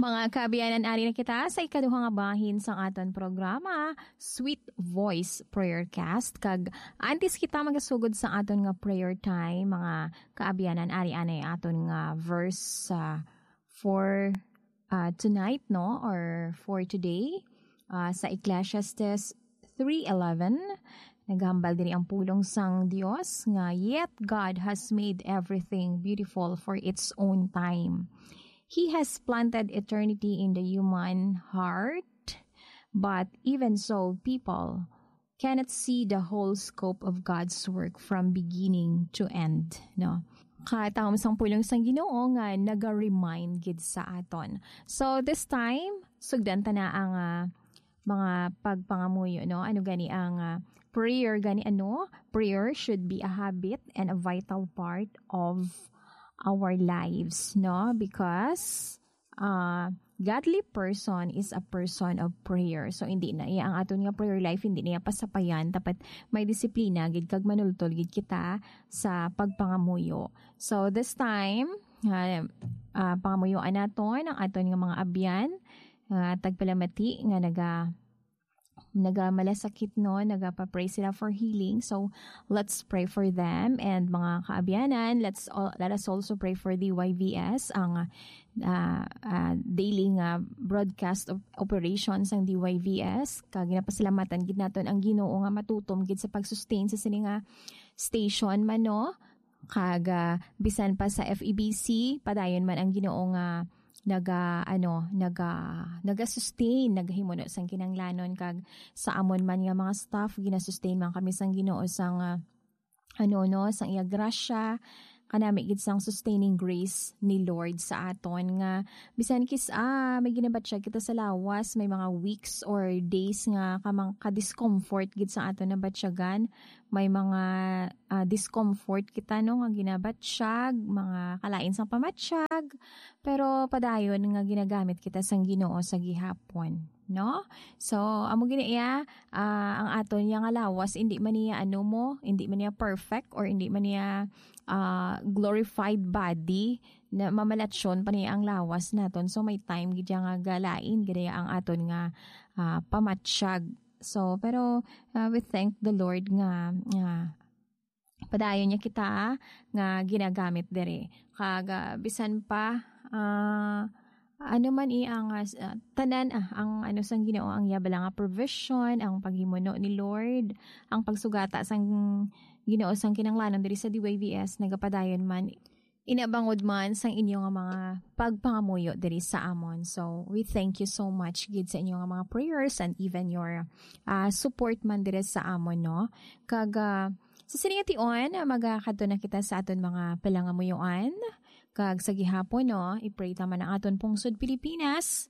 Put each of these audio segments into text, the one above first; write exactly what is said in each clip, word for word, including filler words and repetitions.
Mga kaabyanan, ari na kita sa ikaduha nga bahin sang aton programa, Sweet Voice Prayer Cast. Kag antes kita magasugod sa aton nga prayer time, mga kaabyanan, ari anay aton nga verse, ah, for, ah, tonight, no? Or for today, ah, sa Ecclesiastes three eleven, naghambal diri ang pulong sang Dios nga, "Yet God has made everything beautiful for its own time. He has planted eternity in the human heart, but even so, people cannot see the whole scope of God's work from beginning to end," no? Kataom sang pulong sang Ginoo nga naga-remind gid sa aton. So, this time, sugdan ta na ang, ah, mga pagpangamuyo, no? Ano gani ang, ah, prayer gani, ano? Prayer should be a habit and a vital part of our lives, no? Because, ah, godly person is a person of prayer. So, hindi na iya ang aton nga prayer life, hindi niya pasapayan. Dapat may disiplina gid kag manultol gid kita sa pagpangamuyo. So, this time, ah, ah, pangamuyoan naton ang aton nga mga abyan, ah, tagpalamati nga naga-, nagamalasakit, no? Nagapa-pray sila for healing. So, let's pray for them. And mga kaabyanan, let's al-, let us also pray for the Y V S, ang, ah, ah, daily nga broadcast op-, operations sang D Y V S. Kag ginapasalamatan gid naton ang Ginoo nga matutom gid sa pag-sustain sa sini nga station man, no? Kag, ah, bisan pa sa F E B C, padayon man ang Ginoo nga naga, ano, naga, naga-sustain, nagahimuno sang kinahanglanon, kag sa amon man nga mga staff, ginasustain man kami sang Ginoo sang, ah, ano, no, sang iya grasya, kanami gid sang sustaining grace ni Lord sa aton, nga bisan kis-, ah, may ginabatyag kita sa lawas, may mga weeks or days nga kamang ka-discomfort gid sa aton nabatyagan, may mga, ah, discomfort kita, no, nga ginabatyag, mga kalain sang pamatyag, pero padayon nga ginagamit kita sang Ginoo sa gihapon, no? So, amo gid iya, ah, ang aton iya nga lawas, hindi man niya, ano mo, hindi man niya perfect or hindi man niya, ah, glorified body, na mamalatyon pa niya ang lawas naton. So, may time gid iya nga galain gid iya ang aton nga, ah, pamatyag. So, pero, ah, we thank the Lord nga, nga padayon niya kita nga ginagamit diri. Kag, ah, bisan pa, ah, ano man i-, ang, ah, s-, ah, tanan, ah, ang ano sang Ginoo, ang iya bala nga provision, ang paghimuno ni Lord, ang pagsugata sang Ginoo sang kinahanglanon diri sa D Y V S, nagapadayon man, inabangod man sang inyo nga mga pagpangamuyo diri sa amon. So, we thank you so much gid sa inyo nga mga prayers and even your, ah, support man diri sa amon, no? Kag, ah, sa sini nga tion, ah, magakadto na kita sa aton mga palangamuyoan. Kag sa gihapon, no, i-pray ta man ang aton pungsod Pilipinas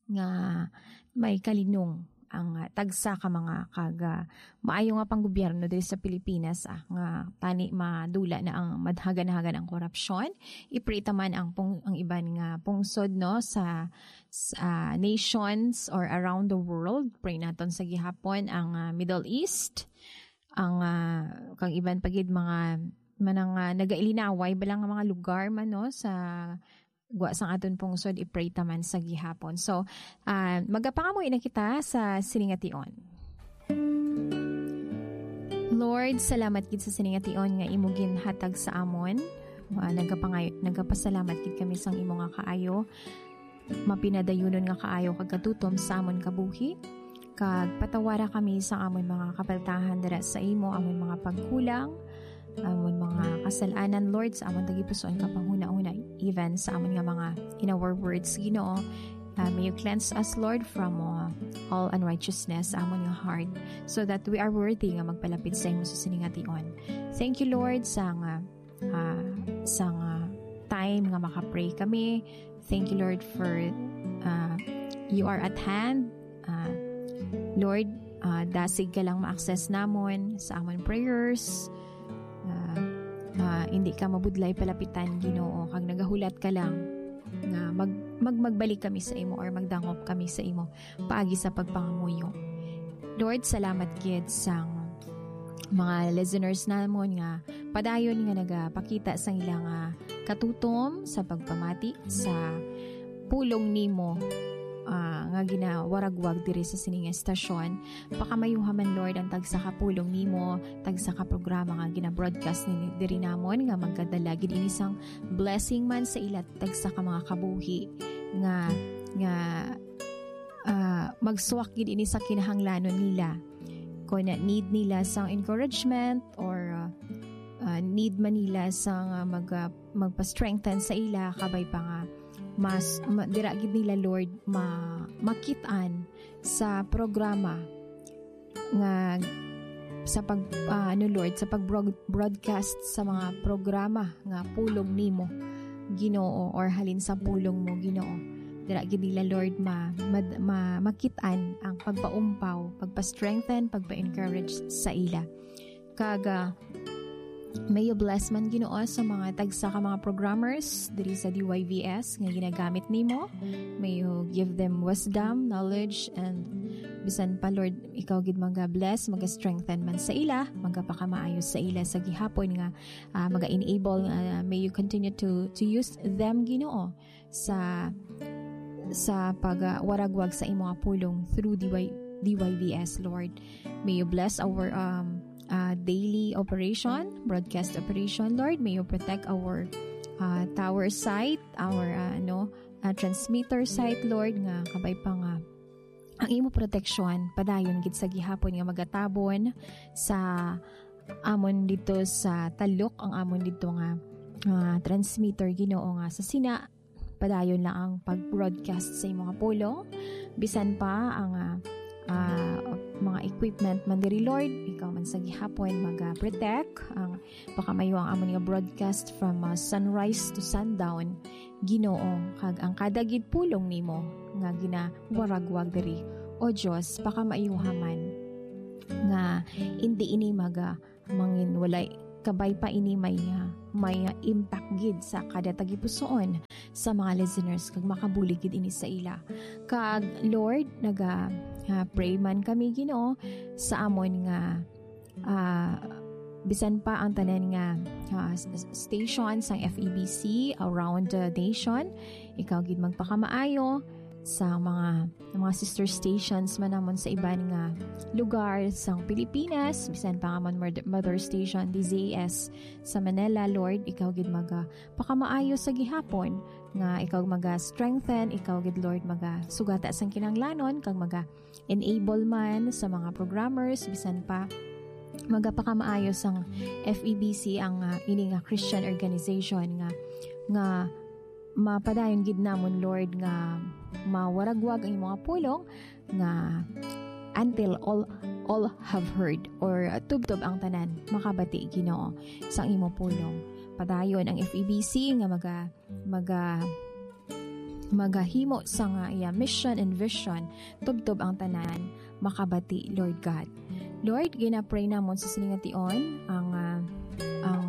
nga may kalinong ang, ah, tagsa ka mga kag, ah, maayo nga panggobyerno diri sa Pilipinas, ah, nga tani madula na ang madhagan-hagan ang korupsyon. I-pray ta man ang pung-, ang iban nga pungsod, no, sa, sa, ah, nations or around the world. Pray naton sa gihapon ang, ah, Middle East, ang, ah, kang iban pa gid mga manang, ah, nagailinaway bala nga mga lugar man, no, sa gwa sang aton pungsod, i-pray ta man sa gihapon. So, ah, magapangamuyo na kita sa sini nga tion. Lord, salamat gid sa sini nga tion nga imo ginhatag sa amon. Ah, nagapangay-, nagapasalamat gid kami sang imo nga kaayo. Mapinadayunon nga kaayo kag katutom sa amon kabuhi, kag patawara kami sa amon mga kapaltahan dira sa imo, amon mga pagkulang, amon mga kasal-anan, Lord, sa amon tagipusoon nga panghunahuna, even sa amon nga mga, in our words, Ginoo. Uh, may you cleanse us, Lord, from, uh, all unrighteousness, amon nga heart, so that we are worthy nga magpalapit sa imo sa sini nga tion. Thank you, Lord, sa nga ah, sang, ah, time nga makapray kami. Thank you, Lord, for, ah, you are at hand. Ah, Lord, ah, dasig ka lang ma-access namon sa amon prayers. Ah, ah, hindi ka mabudlay palapitan, Ginoo, kag nagahulat ka lang nga mag-, mag-, magbalik kami sa imo or magdangop kami sa imo paagi sa pagpangamuyo. Lord, salamat gid sang mga listeners namon nga padayon nga nagapakita sang ila nga katutom sa pagpamati sa pulong nimo, ah, nga ginawaragwag diri sa sini nga estasyon. Pakamayuha man, Lord, ang tagsa ka pulong nimo, tagsa ka programa nga gina-broadcast ni diri namon, nga magkadala gid ini sang blessing man sa ila, tagsa ka mga kabuhi nga, nga, ah, magsuwak gid ini sa kinahanglanon nila. Kung na need nila sang encouragement or, ah, ah, need man nila sang, ah, mag-, ah, magpa-strengthen sa ila, kabay pa nga mas ma-, dira gid nila, Lord, ma-, makit-an sa programa nga sa pag, ah, ano, Lord, sa pag-, broadcast sa mga programa nga pulong nimo, Ginoo, or halin sa pulong mo, Ginoo. Dira gid nila, Lord, ma-, mad-, ma-, makit-an ang pagpaumpaw, pagpa-strengthen, pagpa-encourage sa ila. Kag, ah, may you bless man, Ginoo, sa mga tagsa ka mga programmers diri sa D Y V S nga ginagamit nimo. May you give them wisdom, knowledge, and bisan pa, Lord, ikaw gid maga-bless, maga-strengthen man sa ila, magapakamaayo sa ila sa gihapon nga, ah, maga-enable. Ah, may you continue to, to use them, Ginoo, sa, sa pagwaragwag sa imo nga pulong through D Y, D Y V S, Lord. May you bless our, um, uh, daily operation, broadcast operation, Lord. May you protect our, uh, tower site, our, uh, ano, uh, transmitter site, Lord, nga kabay pa nga ang imo proteksyon padayon gid sa gihapon nga magatabon sa amon dito sa talok, ang amon dito nga, ah, transmitter, Ginoo, nga sa sina padayon lang ang pag-broadcast sa imo nga pulong. Bisan pa ang, ah, ah, mga equipment man diri, Lord, ikaw man sa gihapon mag-protect ang pakamayo ang amon nga broadcast from, ah, sunrise to sundown, Ginoo, kag ang kada gid pulong nimo nga ginawaragwag diri. O Dios, pakamaayuha man nga indi ini maga-, mangin walay kabay pa ini may, ah, may, ah, impact gid sa kada tagipusoon sa mga listeners kag makabulig gid ini sa ila. Kag Lord, naga, ah, pray man kami, Ginoo, sa amon nga, ah, bisan pa ang tanan nga, ah, s-, s-, station sang F E B C around the nation, ikaw gid magpakamaayo sa mga, mga sister stations man namon sa iban nga lugar sang Pilipinas, bisan pa nga man mother, mother station, D Z S sa Manila, Lord, ikaw gid maga pakamaayo sa gihapon, nga ikaw maga-strengthen, ikaw gid, Lord, magasugata sang kinahanglanon, kag maga-enable man sa mga programmers, bisan pa magapakamaayo sang F E B C ang, ah, ini nga Christian organization nga, nga mapadayon gid namon, Lord, nga mawaragwag ang imo nga pulong, nga until all, all have heard, or, uh, tubtob ang tanan makabati, Ginoo, sang imo pulong. Padayon ang F E B C nga maga-, maga-, magahimo sa nga iya mission and vision, tubtob ang tanan makabati, Lord God. Lord, ginapray namon sa sini nga tion ang, ah, ang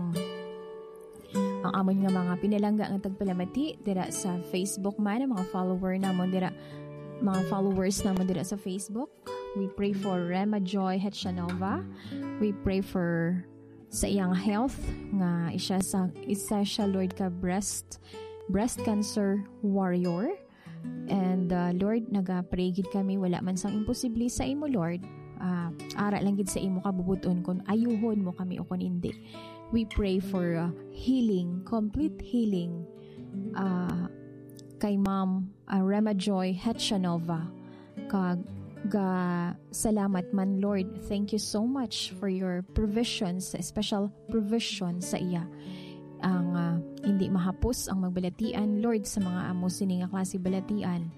ang amon nga mga pinalangga nga tagpalamati dira sa Facebook man, ang mga follower namon dira, mga followers namon dira sa Facebook. We pray for Rema Joy Hechanova. We pray for sa iyang health, nga isa sa, isa siya, Lord, ka breast, breast cancer warrior. And, uh, Lord, naga-pray gid kami, wala man sang imposible sa imo, Lord. Ah, ara lang gid sa imo kabubut-on kung ayuhon mo kami o kung hindi. We pray for, uh, healing, complete healing, uh, kay Ma'am, uh, Rema Joy Hechanova. Kag ga-, salamat man, Lord. Thank you so much for your provisions, special provision sa iya. Ang, ah, hindi mahapos ang magbalatian, Lord, sa mga amo sini nga klase balatian.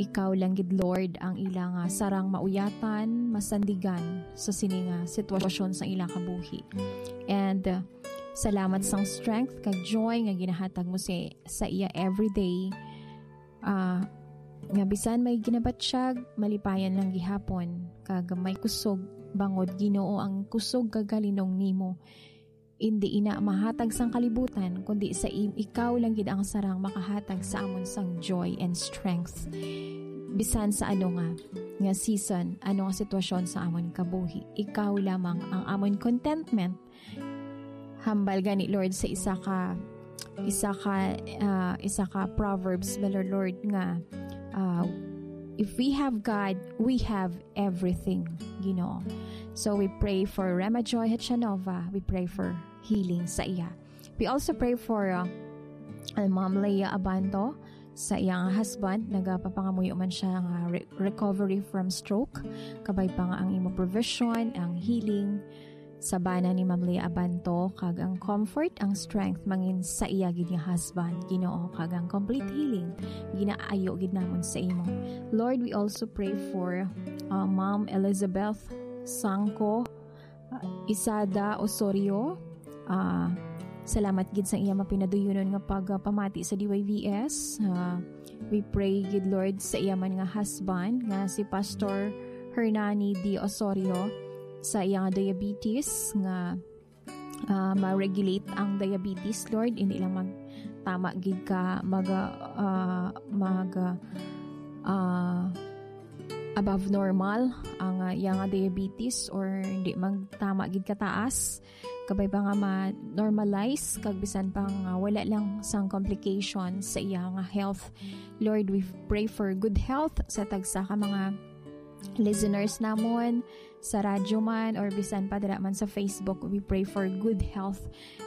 Ikaw lang gid, Lord, ang ila nga sarang mauyatan, masandigan sa sini nga sitwasyon sa ila kabuhi. And, ah, salamat sang strength kag joy nga ginahatag mo sa, sa iya everyday. Ah, nga bisan may ginabatyag, malipayan lang gihapon, kag may kusog, bangod Ginoo ang kusog kag kalinong nimo. Indi ina mahatag sang kalibutan, kundi sa im-, ikaw lang gid ang sarang makahatag sa amon sang joy and strength. Bisan sa ano nga, nga season, ano nga sitwasyon sa amon kabuhi, ikaw lamang ang amon contentment. Hambal gani, Lord, sa isa ka, isa ka, ah, isa ka Proverbs ba, Lord, nga, ah, "If we have God, we have everything," Ginoo. So we pray for Rema Joy Hachanova. We pray for healing sa iya. We also pray for, uh, uh, Ma'am Leah Abanto, sa iyang husband. Nagapapangamuyo man siya nga re-, recovery from stroke. Kabay pa nga ang imo provision, ang healing sa bana ni Ma'am Leah Abanto, kag ang comfort, ang strength mangin sa iya gid nga husband, Ginoo, kag ang complete healing ginaayo gid namon sa imo. Lord, we also pray for, uh, Ma'am Elizabeth Sangko, uh, Isada Osorio. Uh, salamat gid sa iya mapinaduyunon nga pagpamati sa D Y V S. Uh, we pray gid, Lord, sa iya man nga husband nga si Pastor Hernani D Osorio, sa iya nga diabetes, nga, ah, ma-regulate ang diabetes, Lord, hindi lang magtama gid ka mag, ah, mag, ah, above normal ang, ah, iya nga diabetes, or hindi magtama gid kataas, kabay pa nga ma-normalize, kag bisan pa nga wala lang sang complication sa iya nga health. Lord, we pray for good health sa tagsa ka mga listeners namon, sa radyo man, or bisan pa dira man sa Facebook. We pray for good health.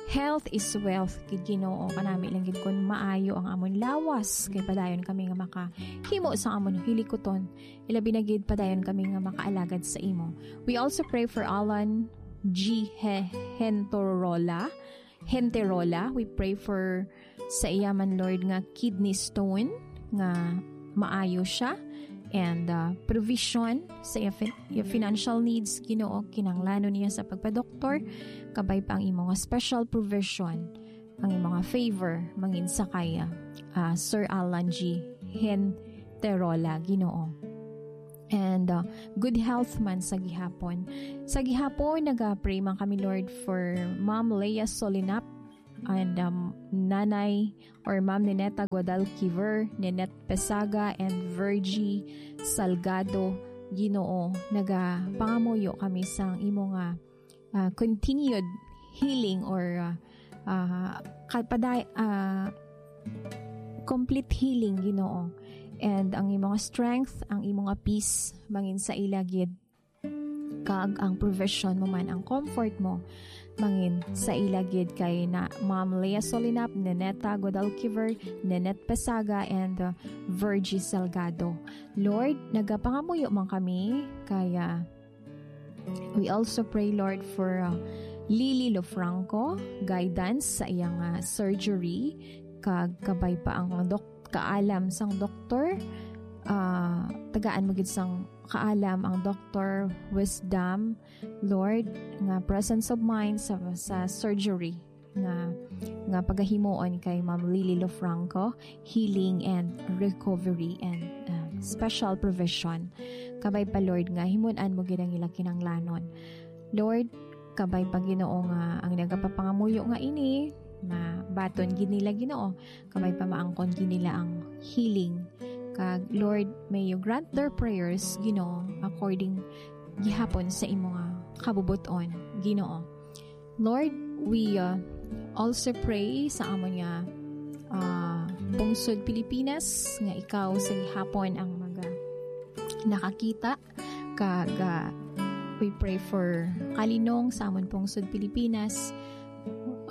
Health is wealth, gid, Ginoo, kanami lang gid kun maayo ang amon lawas, kay padayon kami nga makahimo sa amon hilikuton. Ilabi na gid, padayon kami nga makaalagad sa imo. We also pray for Alan G. He-, Hentorola. Henterola. We pray for sa iya man, Lord, nga kidney stone, nga maayo siya, and, uh, provision sa iya fin-, iya financial needs, Ginoo, kinahanglanon niya sa pagpadoktor, kabay pa ang imo nga special provision, ang imo nga favor, mangin sa kay, uh, Sir Alan G. Henterola, Ginoo. And, uh, good health man sa gihapon. Sa gihapon, naga-pray man kami, Lord, for Ma'am Leah Solinap and, um, Nanay or Ma'am Nineta Guadalquiver, Ninette Pesaga, and Virgie Salgado. Ginoo, nagapangamuyo kami sang imo nga, ah, continued healing or, ah, ah, kapaday-, ah, complete healing, Ginoo. And ang imo nga strength, ang imo nga peace, mangin sa ila gid, kag ang provision mo man, ang comfort mo, mangin sa ila gid kay na Ma'am Leah Solinap, Nineta Guadalquiver, Ninette Pesaga, and, uh, Virgie Salgado. Lord, nagapangamuyo man kami kay, uh, we also pray, Lord, for, uh, Lily Lofranco, guidance sa iyang, uh, surgery, kag kabay pa ang dok-, kaalam sang doktor, ah, tagaan mo gid sang kaalam ang doktor, wisdom, Lord, nga presence of mind sa, sa surgery nga, nga pagahimuon kay Ma'am Lily Lofranco, healing and recovery and, ah, special provision. Kabay pa, Lord, nga himun-an mo gid ang ila kinanglanon. Lord, kabay pa, Ginoo, nga ang nagapapangamuyo nga ini, na baton gid nila, Ginoo, kabay pa maangkon gid nila ang healing. Kag, Lord, may you grant their prayers, Ginoo, according gihapon sa imo nga kabubot-on, Ginoo. Lord, we, uh, also pray sa amon nga, uh, pungsod Pilipinas, nga ikaw sa gihapon ang maga nakakita, kag, uh, we pray for kalinong sa amon pungsod Pilipinas,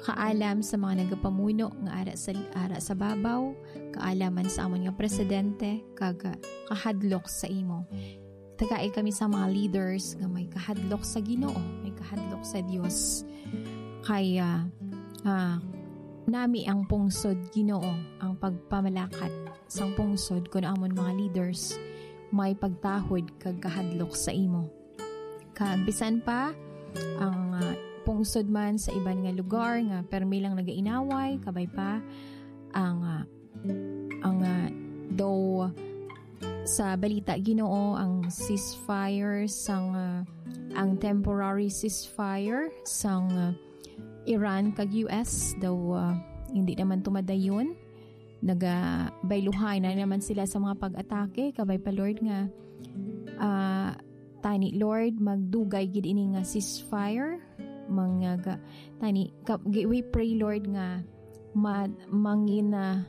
kaalam sa mga nagapamuno nga ara sa, ara sa babaw, kaalam man sa amon nga presidente, kag, uh, kahadlok sa imo. Tagai kami sa mga leaders nga may kahadlok sa Ginoo, may kahadlok sa Dios. Kay, ah, ah, nami ang pungsod, Ginoo, ang pagpamalakat sang pungsod kun amon mga leaders may pagtahod kag kahadlok sa imo. Kag bisan pa ang, ah, pungsod man sa iban nga lugar nga permi lang nagainaway, kabay pa ang, ah, ang, ah, daw sa balita, Ginoo, ang ceasefire sang, ah, ang temporary ceasefire sang, ah, Iran kag U S daw, ah, hindi naman tumadayon. Nagabayluhay na naman sila sa mga pag-atake. Kabay pa, Lord, nga, ah, tani, Lord, magdugay gid ini nga ceasefire. Mga ga-, tani, ka-, gi-, we pray, Lord, nga ma-, mangin-, ah,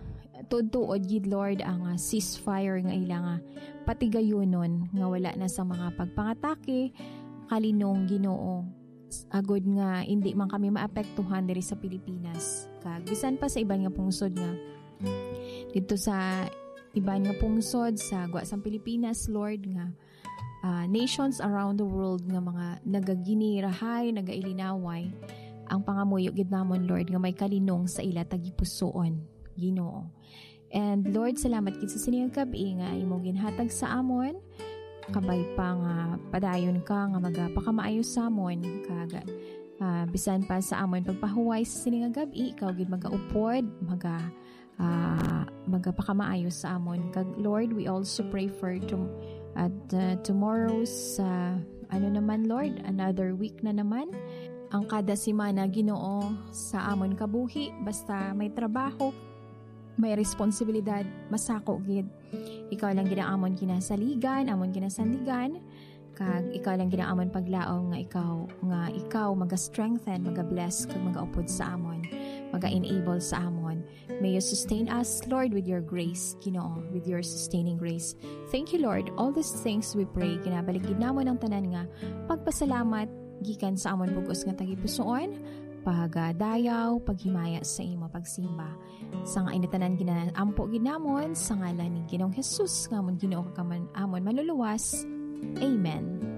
tuod-tuod gid, Lord, ang, ah, ceasefire nga ila nga patigayunon, nga wala na sa mga pagpangatake, kalinong, Ginoo, agod nga indi man kami maapektuhan diri sa Pilipinas. Kag bisan pa sa iban nga pungsod nga, didto sa iban nga pungsod sa gwa sang Pilipinas, Lord, nga, ah, nations around the world nga mga nagaginirahay, nagailinaway, ang pangamuyo gid namon, Lord, nga may kalinong sa ila tagipusoon, Ginoo. And Lord, salamat gid sa sini nga gab-i nga imo ginhatag sa amon. Kabay pa nga padayon ka nga magapakamaayo sa amon, kag, ah, bisan pa sa amon pagpahuway sa sini nga gab-i, ikaw gid magaupod, maga-, ah, magapakamaayo sa amon. Kag Lord, we also pray for tom-, at, ah, tomorrow's, ah, ano naman, Lord, another week na naman. Ang kada semana, Ginoo, sa amon kabuhi, basta may trabaho, may responsibilidad, masako gid. Ikaw lang gid ang amon ginasaligan, amon ginasandigan, kag ikaw lang gid ang amon paglaom nga ikaw, nga ikaw maga-strengthen, maga-bless, kag magaupod sa amon, maga-enable sa amon. May you sustain us, Lord, with your grace, Ginoo, with your sustaining grace. Thank you, Lord. All these things we pray. Ginabalik gid namon ang tanan nga pagpasalamat gikan sa amon bug-os nga tagipusoon, pagadayaw, paghimaya sa imo pagsimba. Sang ini tanan ginaampo gid namon sa ngalan ni Ginoong Jesus nga amon Ginoo kag amon, amon Manluluwas. Amen.